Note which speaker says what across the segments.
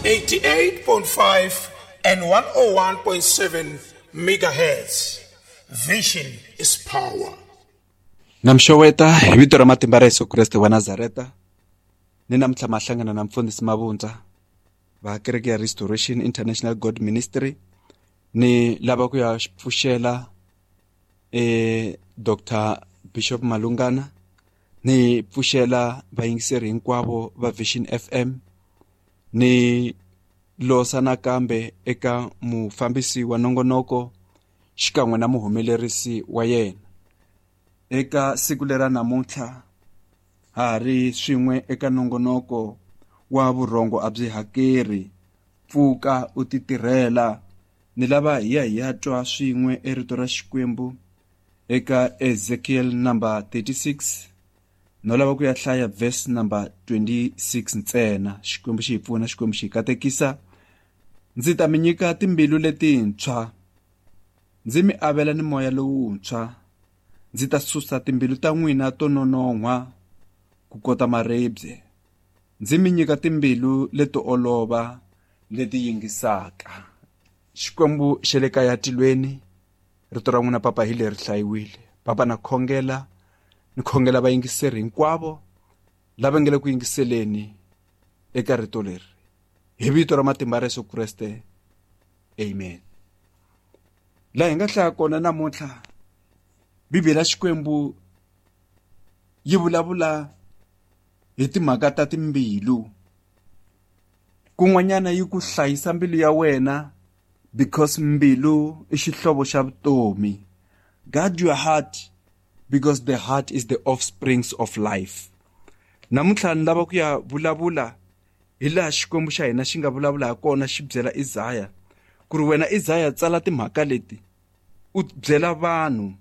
Speaker 1: 88.5 and 101.7 megahertz. Vision is power.
Speaker 2: Na mi xeweta hi vito ra matimba ra Yesu Kreste wa Nazareta. Ni namuntlha ma hlangana na mfundhisi Mavundza va kereke ya Restoration International God Ministry. Ni lava ku ya pfuxela Dr. Bishop Malungana, ni pfuxela vayingiseri hinkwavo va Vision FM, ni losa nakambe eka mufambisi wa nongonoko xikan'we na muhumelerisi wa yena. Eka siku lera namuntlha ha ha ri swin'we eka nongonoko wa vurhongo a byi hakeri, pfuka u ti tirhela. Ni lava hi ya hi ya twa swin'we erito ra Xikwembu eka Ezekiel number 36. No lava ku ya hlaya verse number 26 ntsena. Xikwembu xi hi pfuna, Xikwembu xi hi katekisa. Ndzi ta mi nyika timbilu letintshwa, ndzi mi avela ni moya lowuntshwa. Ndzi ta susa timbilu ta n'wina to nonon'hwa ku kota maribye, ndzi mi nyika timbilu leto olova leti yingisaka. Xikwembu xa le kaya tilweni, rito ra n'wina papa hi leri hlayiwile. Papa, na khongela, ni khongela vayingiseri hinkwavo lava nga le ku yingiseleni eka rito leri, hi vito ra matimba ra Yesu Kreste, amen. Laha hi nga hlaya kona namuntlha, Bibele ya Xikwembu yi vulavula hi timhaka ta timbilu. Kun'wanyana yi ku hlayisa mbilu ya wena, because mbilu i xihlovo xa vutomi. Guard your heart, because the heart is the offsprings of life. Namuntlha ni lava ku ya vulavula hi laha Xikwembu xa hina xi nga vulavula ha kona, xi byela Isaya ku ri wena Isaya tsala timhaka leti, u byela vanhu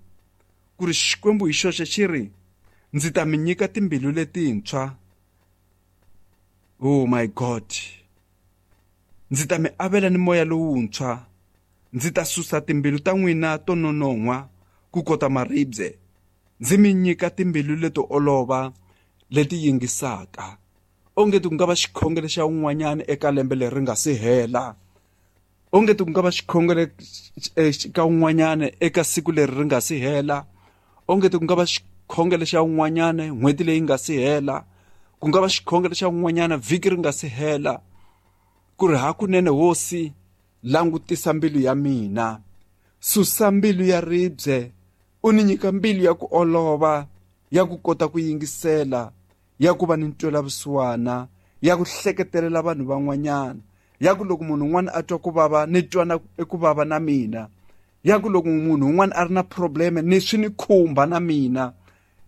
Speaker 2: ku ri Xikwembu hi xoxe xi ri, ndzi ta mi nyika timbilu letintshwa. Oh my God. Ndzi ta mi avela ni moya lowuntshwa. Ndzi ta susa timbilu ta n'wina to nonon'hwa ku kota maribye, ndzi mi nyika timbilu leto olova leti yingisaka. Onge ti ku nga va xikhongelo xa un'wanyana eka lembe leri nga si hela. Onge ti ku nga va xikhongelo ka un'wanyana eka siku leri ri nga si hela. Onge ti ku nga va xikhongelo xa un'wanyana n'hweti leyi nga si hela. Ku nga va xikhongelo xa un'wanyana vhiki ri nga si hela. Ku ri hakunene Hosi, langutisa mbilu ya mina, susa mbilu ya ribye, u ni nyika mbilu ya ku olova, ya ku kota ku yingisela, ya ku va ni ntwelavusiwana, ya ku hleketelela vanhu van'wanyana, ya ku loko munhu un'wana a twa ku vava ni twa na ku vava na mina, ya ku loko munhu un'wana a ri na probleme ni swi ni khumba na mina,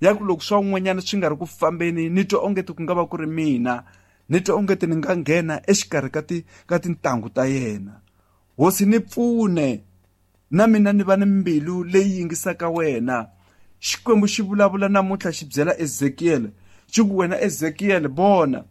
Speaker 2: ya ku loko swa un'wanyana swi nga ri ku fambeni ni twa onge ti ku nga va ku ri mina, ni twa onge ti ni nga nghena exikarhi ka ti ka tintangu ta yena. Hosi, ni pfune na mina ni va ni mbilu leyi yingisaka wena. Xikwembu xi vulavula namuntlha xi byela Ezekiel, xi ku wena Ezekiel, vona,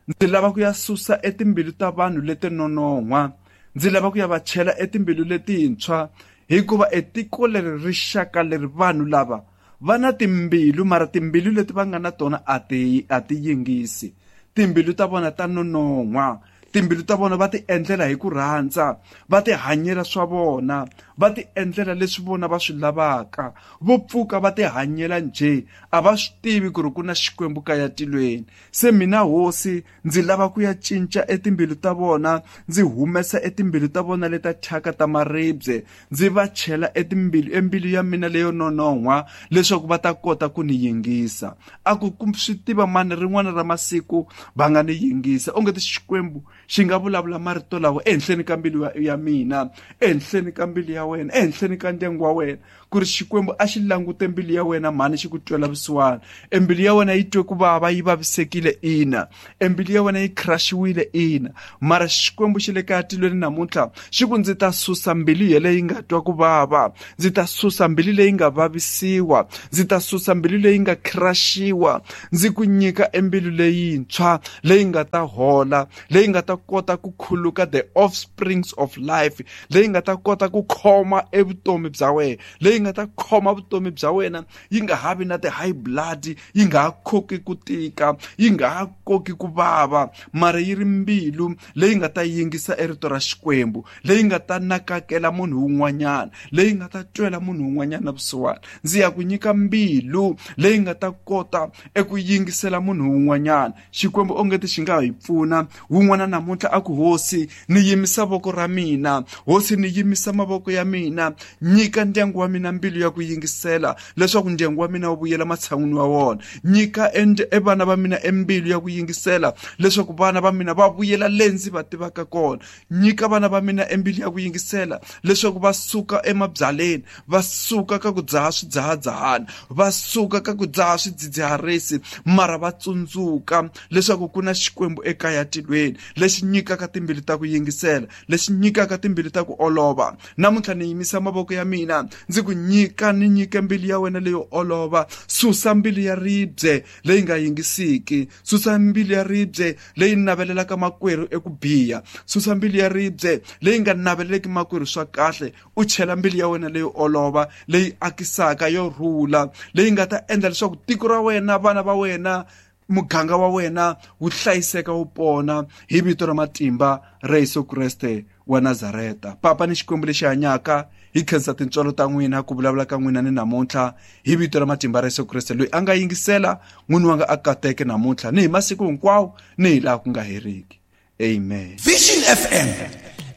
Speaker 2: ndzi lava ku ya susa etimbilu ta vanhu leti nonon'hwa, ndzi lava ku ya va chela etimbilu letintshwa, hikuva etiko leri rixaka leri vanhu lava va na timbilu, mara timbilu leti va nga na tona a ti a ti yingisi. Timbilu ta vona ta nonon'hwa, timbilu ta vona va ti endlela hi ku rhandza, va ti hanyela swa vona, va ti endlela leswi vona va swi lavaka. Vo pfuka va ti hanyela njhe, a va swi tivi ku ri ku na Xikwembu kaya tilweni. Se mina Hosi ndzi lava ku ya cinca etimbilu ta vona, ndzi humesa etimbilu ta vona leta thyaka ta maribye, ndzi va chela etimbilu embilu ya mina leyo nonon'hwa, leswaku va ta kota ku ni yingisa. A ku swi tiva mani rin'wana ra masiku va nga ni yingisa. Onge ti Xikwembu xi nga vulavula marito lawa ehenhleni ka mbilu ya mina, ehenhleni ka mbilu ya wena, ehenhleni ka ndyangu wa wena, ku ri Xikwembu a xi langute mbilu ya wena mhani xi ku twela vusiwana. Embilu ya wena yi twe ku vava, yi vavisekile, ina. Embilu ya wena yi crush-iwile, ina. Mara Xikwembu xi le kaya tilweni namuntlha xi ku ndzi ta susa mbilu yeleyo yi nga twa ku vava, ndzi ta susa mbilu leyi nga vavisiwa, ndzi ta susa mbilu leyi nga crush-iwa, ndzi ku nyika embilu leyintshwa leyi nga ta hola, leyi nga ta ta kota ku khuluka the offsprings of life, leyi nga ta kota ku khoma evutomi bya wena, leyi nga ta khoma vutomi bya wena, yi nga ha vi na ti-high blood, yi nga ha khoki ku tika, yi nga ha koki ku vava, mara yi ri mbilu leyi nga ta yingisa erito ra Xikwembu, leyi nga ta nakakela munhu wun'wanyana, leyi nga ta twela munhu wun'wanyana vusiwana. Ndzi ya ku nyika mbilu leyi nga ta kota eku yingisela munhu wun'wanyana. Xikwembu ongeti xi nga hi pfuna. Wun'wana namuntlha a ku, Hosi, ni yimisa voko ra mina, Hosi, ni yimisa mavoko ya mina, nyika ndyangu wa mina mbilu ya ku yingisela leswaku ndyangu wa mina wu vuyela matshan'wini wa wona. Nyika e vana va mina embilu ya ku yingisela leswaku vana va mina va vuyela le ndzi va tivaka kona. Nyika vana va mina embilu ya ku yingisela leswaku va suka emabyaleni, va suka ka ku dzaha swidzahadzahana, va suka ka ku dzaha swidzidziharisi, mara va tsundzuka leswaku ku na Xikwembu ekaya tilweni lexi nyikaka timbilu ta ku yingisela, lexi nyikaka timbilu ta ku olova. Namuntlha ni yimisa mavoko ya mina ndzi ku nyika, ni nyike mbilu ya wena leyo olova. Susa mbilu ya ribye leyi nga yingisiki, susa mbilu ya ribye leyi navelelaka makwerhu eku biha, susa mbilu ya ribye leyi nga naveleleki makwerhu swa kahle, u chela mbilu ya wena leyo olova, leyi akisaka, yo rhula, leyi nga ta endla leswaku tiko ra wena, vana va wena, muganga wa wena wu hlayiseka, wu pona, hi vito ra matimba ra Yesu Kreste wa Nazareta. Papa ni Xikwembu lexi hanyaka, hi khensa tintswalo ta n'wina, ku vulavula ka n'wina ni namuntlha, hi vito ra matimba ra Yesu Kreste. Loyi a nga yingisela, n'wini wanga a kateke namuntlha ni hi masiku hinkwawo ni hi laha ku nga heriki. Amen.
Speaker 1: Vision FM.